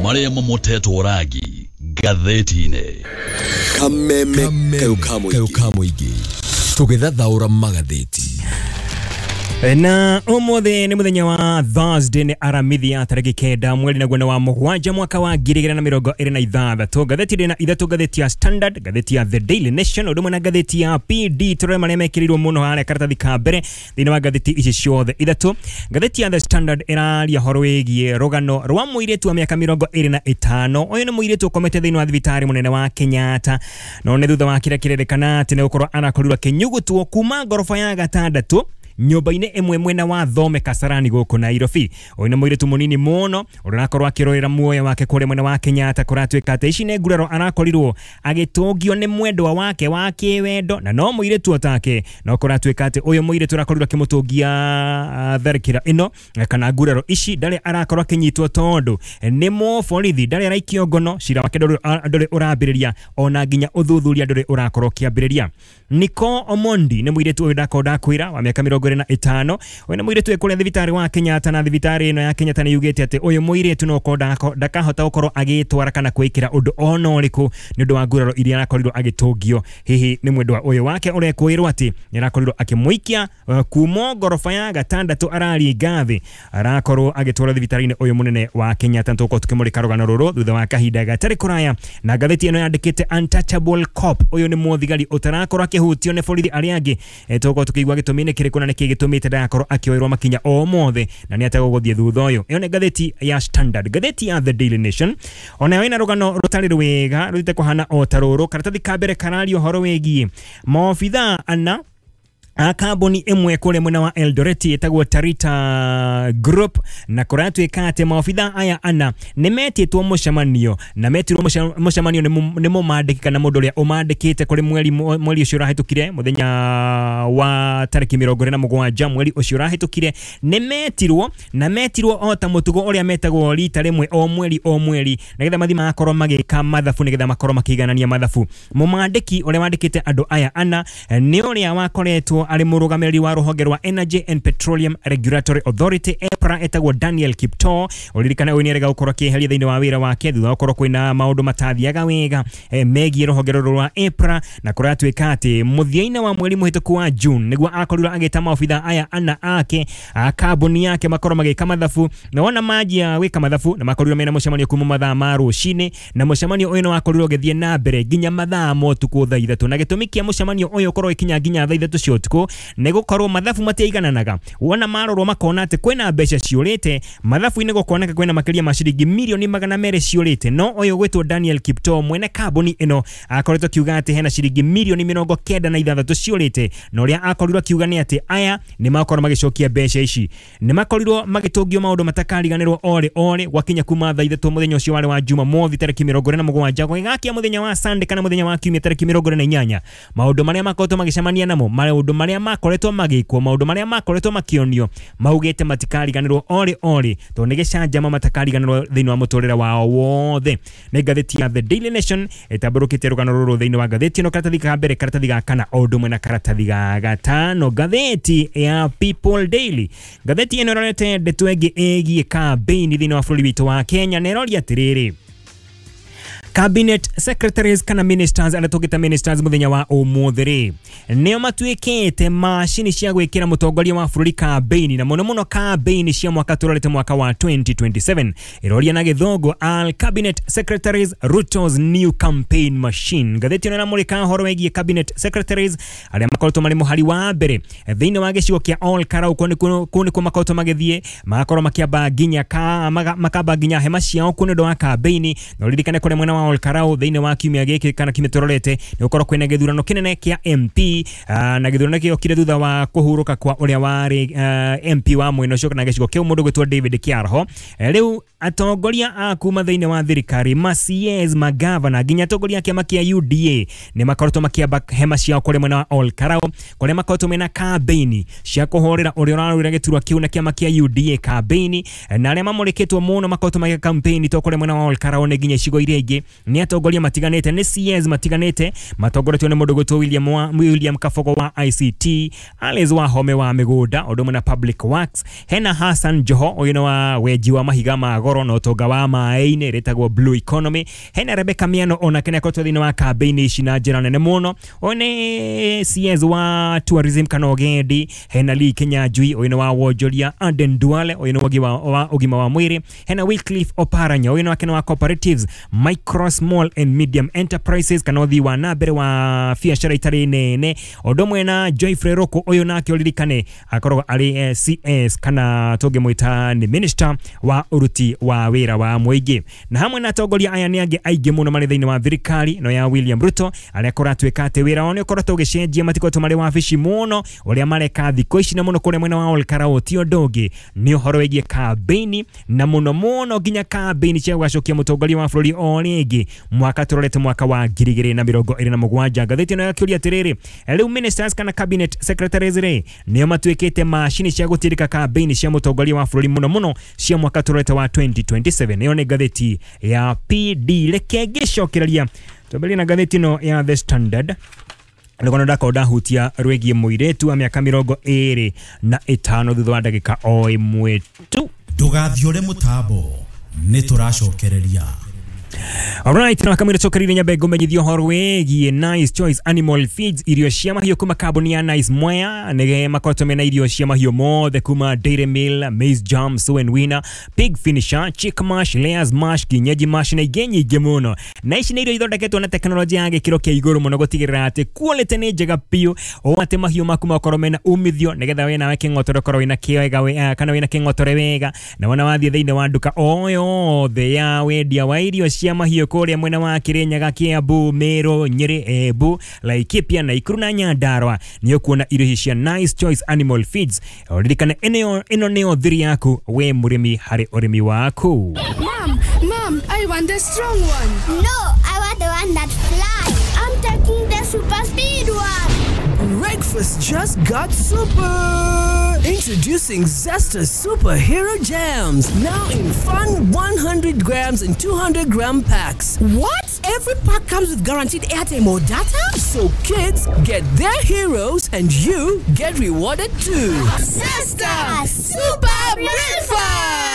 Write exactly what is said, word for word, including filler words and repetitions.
Marĩa mamotetwo rangi ngathĩti-inĩ. Kameme kayo ka mũingĩ tũgĩthathaũra magathĩti. Na ũmũthĩ nĩ mũthenya wa Thursday, nĩ Aramithi ya tarĩki kenda mweri naguo nĩ wa mũgwanja mwaka wa ngiri igĩrĩ na mĩrongo ĩrĩ na ithathatũ. Ngathĩti ndĩ na ithatũ, ngathĩti ya Standard, ngathĩti ya The Daily Nation, ũndũ ũmwe na ngathĩti ya P D. Tũrore marĩa mekĩrĩirwo mũno harĩa karatathi ka mbere thĩinĩ wa ngathĩti ici ciothe ithatũ. Ngathĩti ya The Standard ĩraria ũhoro wĩgiĩ rũgano rwa mũirĩtu wa mĩaka mĩrongo ĩrĩ na ĩtano. Ũyũ nĩ mũirĩtu ũkomete thĩinĩ wa thibitarĩ mũnene wa Kenyatta, no nĩ thutha wa kĩrĩa kĩrerĩkana atĩ nĩ gũkorwo arakorirwo akĩnyugutwo kuma ngoroba ya gatandatũ nyũmba-inĩ ĩmwe mwena wa Thome Kasarani gũkũ Nairobi. Ũyũ nĩ mũirĩtu mũnini mũno ũrĩa ũrakorwo akĩrũĩra muoyo wake kũrĩa mwena wa Kenyatta. Kũratuĩka atĩ ici nĩ nguraro arakorirwo agĩtũngio nĩ mwendwa wake wa kĩwendo, na no mũirĩtu otake, no kũratuĩka atĩ ũyũ mũirĩtu arakorirwo akĩmũtũngia tharĩkĩra ĩno kana nguraro ici, ndarĩ arakorwo akĩnyitwo tondũ nĩ mũborithi, ndarĩ araikio ngono, cira wake ndũrĩ ũrambĩrĩria, ona nginya ũthuthuria ndũrĩ ũrakorwo ũkĩambĩrĩria. Nicole Omondi nĩ mũirĩtu ũyũ ndakorwo ndakwĩra wa mĩaka mĩrongo ĩrĩ na ĩtano. Ũyũ nĩ mũirĩtu kũrĩa thibitarĩ wa Kenyatta, na thibitarĩ ĩno ya Kenyatta nĩ yugĩte atĩ ũyũ mũirĩtu no ũkorwo ndakahota gũkorwo agĩtwara kana kwĩkĩra ũndũ ona ũrĩkũ nĩ ũndũ wa nguraro iria arakorirwo agĩtũngio hihi nĩ mwendwa ũyũ wake ũrekwĩrwo atĩ nĩ arakorirwo akĩmũikia kuma ngoroba ya gatandatũ araringa thĩ, arakorwo agĩtwarwo thibitarĩ-inĩ ũyũ mũnene wa Kenyatta. Tũgũkorwo tũkĩmũrĩka rũgano rũrũ thutha wa kahinda gatarĩ kũraya. Na ngathĩti ĩno yandĩkĩte Untouchable Cop, ũyũ nĩ mũthigari ũtarakorwo akĩhutio nĩ borithi arĩa angĩ. Tũgũkorwo tũkĩigua gĩtũmi nĩ kĩrĩkũ na nĩkĩ gĩtũmĩte ndagakorwo akĩoerwo makinya o mothe na nĩ ategũgũthiĩ thutha ũyũ. Ĩyo nĩ ngathĩti ya Standard. Ngathĩti ya The Daily Nation onayo ĩna rũgano rũtarĩ rwega rũthiĩte kũhana o ta rũrũ. Karatathi ka mbere kararia ũhoro wĩgiĩ maobithaa ana a kambuni ĩmwe kũrĩa mwena wa Eldoret ĩtagwo Tarita Group, na kũratuĩka atĩ maobithaa aya ana nĩ metĩtwo mũcemanio, na metirwo mũcemanio nĩ mũmandĩki kana mũndũ ũrĩa ũmandĩkĩte kũrĩ mweri mweri ũcio ũrahĩtũkire mũthenya wa tarĩki mĩrongo ĩrĩ na mũgwanja mweri ũcio ũrahĩtũkire. Nĩ metirwo na metirwo o ta mũtugo ũrĩa metagwo rita rĩmwe o mweri o mweri, nĩgetha mathiĩ magakorwo magĩka mathabu, nĩgetha makorwo makĩiganania mathabu. Mũmandĩki ũrĩa wandĩkĩte andũ aya ana nĩ ũrĩa wakoretwo arĩ mũrũgamĩrĩri wa rũhonge rwa Energy and Petroleum Regulatory Authority E P R A etagwo Daniel Kiptoo. Ũririkane ũyũ nĩarega gũkorwo akĩeheria thĩinĩ wa wĩra wake thutha wa gũkorwo kwĩna maũndũ matathiaga wega megiĩ rũhonge rũrũ rwa E P R A, na kũratuĩka atĩ mũthia-inĩ wa mweri mũhĩtũku wa June nĩguo akorirwo agĩta maobithaa aya ana ake a kambuni yake makorwo magĩka mathabu, na wona manjia gwĩka mathabu na makorirwo mena mũcemanio kuma mathaa ma rũcinĩ, na mũcemanio ũyũ nĩ wakorirwo ũgĩthiĩ na mbere nginya mathaa ma ũtukũ thaa ithatũ. Na gĩtũmi kĩa mũcemanio ũyũ ũkorwo ũgĩkinya nginya thaa ithatũ cia ũtukũ nĩ gũkorwo mathabu matiaigananaga. Wona marorwo makona atĩ kwĩna mbeca ciũrĩte mathabu-inĩ, gũkoneka kwĩna makĩria ma ciringi mirioni magana merĩ ciũrĩte, no ũyũ gwĩtwo Daniel Kiptoo mwene kambuni ĩno akoretwo akiuga atĩ hena ciringi mirioni mĩrongo kenda na ithathatũ ciũrĩte, na ũrĩa akorirwo akiuga nĩ atĩ aya nĩ makorwo magĩcokia mbeca ici. Nĩ makorirwo magĩtũngio maũndũ matakariganĩrwo orĩ orĩ gwakinya kuma thaa ithatũ mũthenya ũcio warĩ wa Jumamothi tarĩki mĩrongo ĩrĩ na mũgwanja gũgĩgakia mũthenya wa Sunday kana mũthenya wa Kiumia tarĩki mĩrongo ĩrĩ na inyanya. Maũndũ marĩa makoretwo magĩcemania namo, maũndũ marĩa makoretwo magĩkwo, maũndũ marĩa makoretwo makĩonio maugĩte matikariganĩrwo orĩ orĩ, tondũ nĩ gĩcanjama matakariganĩrwo thĩinĩ wa mũtũrĩre wao wothe. Nĩ ngathĩti ya The Daily Nation ĩtambũrũkĩte rũgano rũrũ thĩinĩ wa ngathĩti ĩno, karatathi ka mbere, karatathi ga kana, o ũndũ ũmwe na karatathi ga gatano. Ngathĩti ya People Daily, ngathĩti ĩno ĩrorete ndeto ĩngĩ ĩgiĩ kambĩini thĩinĩ wa bũrũri witũ wa Kenya, na ĩroria atĩrĩrĩ, Cabinet secretaries kana ministers arĩa tũngĩta ministers mũthenya wa ũmũthĩ rĩ, nĩo matuĩkĩte macini cia gwĩkĩra mũtongoria wa bũrũri kambĩini, na mũno mũno kambĩini cia mwaka tũrorete mwaka wa twenty twenty-seven. Ĩroria na gĩthũngũ, all cabinet secretaries Ruto's new campaign machine. Ngathĩti ĩno ĩramũrĩka ũhoro wĩgiĩ cabinet secretaries arĩa makoretwo marĩ mũhari wa mbere thĩinĩ wa gĩcigo kĩa Ol Kalou. Kũu nĩkuo makoretwo magĩthiĩ, magakorwo makĩamba nginya makamba nginya hema ciao kũu nĩ ũndũ wa kambĩini. Na ũririkane kũrĩa mwena wa Ol Kalou thĩinĩ wa kiumia gĩkĩ kana kiumia tũrorete nĩ gũkorwo kwĩna gĩthurano kĩnene kĩa M P, na gĩthurano gĩokire thutha wa kũhurũka kwa ũrĩa warĩ M P wa mwena ũcio kana gĩcigo kĩu mũndũ gwĩtwo David Kiarho. Rĩu atongoria a kuma thĩinĩ wa thirikari, ma C S, magavana, nginya atongoria a kĩama kĩa U D A nĩ makoretwo makĩamba hema ciao kũrĩa mwena wa Ol Kalou, kũrĩa makoretwo mena kambĩini cia kũhũrĩra ũrĩa ũrarũĩra gĩturwa kĩu na kĩama kĩa U D A kambĩini, na arĩa mamũrĩkĩtwo mũno makoretwo magĩka kambĩini to kũrĩa mwena wa Ol Kalou nĩ nginya icigo iria ingĩ Nĩ atongoria matiganĩte, nĩ C S matiganĩte matongoretio nĩ mũndũ gwĩtwo William wa, William Kabogo wa I C T, Alice Wahome wa mĩgũnda ũndũ ũmwe na Public Works, hena Hassan Joho, ũyũ nĩ wa wenji wa mahiga ma goro na ũtonga wa maĩ-inĩ rĩtagwo Blue Economy, hena Rebecca Miano, onake nĩ akoretwo thĩinĩ wa kambĩini ici na njĩra nene mũno, ũyũ nĩ C S wa tourism kana ũgendi, hena Lee Kinyanjui, ũyũ nĩ wa wonjoria, Aden Duale, ũyũ nĩ wa, wa ũgima wa mwĩrĩ, hena Wycliffe Oparanya, ũyũ nĩ wake nĩ wa cooperatives, micro, small and medium enterprises kana ũthii wa na mbere wa biacara itarĩ nene, ũndũ ũmwe na Geoffrey Ruku, ũyũ nake ũririkane akoragwo arĩ eh, C S kana tũngĩmwĩta nĩ minister wa ũruti wa wĩra wa mũingĩ, na hamwe na atongoria aya nĩ angĩ aingĩ mũno marĩ thĩinĩ wa thirikari no ya William Ruto, arĩa kũratuĩka atĩ wĩra wao nĩ ũkoretwo ũgĩcenjia, matikoretwo marĩ wabici mũno. Ũrĩa mareka thikũ ici na mũno kũrĩa mwena wa Olkarau ti ũndũ ũngĩ nĩ ũhoro wĩgiĩ kambĩini, na mũno mũno nginya kambĩini cia gũgacokia mũtongoria wa bũrũri o rĩngĩ mwaka tũrorete mwaka wa ngiri igĩrĩ na mĩrongo ĩrĩ na mũgwanja. Ngathĩti ĩno yakĩũria atĩrĩrĩ, rĩu ministers kana cabinet secretaries rĩ nĩo matuĩkĩte macini cia gũtirika kambĩini cia mũtongoria wa bũrũri, mũno mũno cia mwaka tũrorete wa twenty twenty-seven. Ĩyo nĩ ngathĩti ya P D. Reke ngĩcokereria twambĩrĩrie na ngathĩti ĩno ya The Standard nĩguo ndakorwo ndahutia rwĩgiĩ mũirĩtu wa mĩaka mĩrongo ĩrĩ na ĩtano thutha wa ndagĩka o ĩmwe tu. Ndũgathiũre mũtambo, nĩ tũracokereria. Alright, na kamwira cokereire nyambe ngũmenyithio ũhoro wĩgiĩ Nice Choice Animal Feeds, irio cia mahiũ kuma kambuni ya Nice Mwea. Nĩ makoretwo mena irio cia mahiũ mothe kuma Dairy Meal, Maize Jam, Sow and Winner, Pig Finisher, Chick Mash, Layers Mash, Kienyeji Mash na ingĩ nyingĩ mũno. Na ici nĩ irio ithondeketwo na teknolojia ya gĩkĩro kĩa igũrũ mũno gũtigĩrĩra atĩ quality nĩ njega biũ, o atĩ mahiũ maku makorwo mena umithio, nĩgetha we nawe kĩng'otore ũkorwo wĩna kĩega we- kana wĩna kĩng'otore wega. Na wona wathiĩ thĩinĩ wa nduka o yothe ya wendia wa irio cia mahiũ kũrĩa mwena wa Kirinyaga, Kiambu, Meru, Nyeri, Embu, Laikipia, Nakuru na Nyandarua, nĩ ũkuona irio ici cia Nice Choice Animal Feeds. Ririkana ĩno ĩno nĩyo thiri yaku we mũrĩmi harĩ ũrĩmi waku. Mom, Mom, I want the strong one. No, I want the one that flies. I'm taking the super speed one. Breakfast just got super! Introducing Zesta Superhero Jams, now in fun one hundred grams and two hundred gram packs. What? Every pack comes with guaranteed airtime or data? So kids get their heroes and you get rewarded too. Zesta Super Breakfast!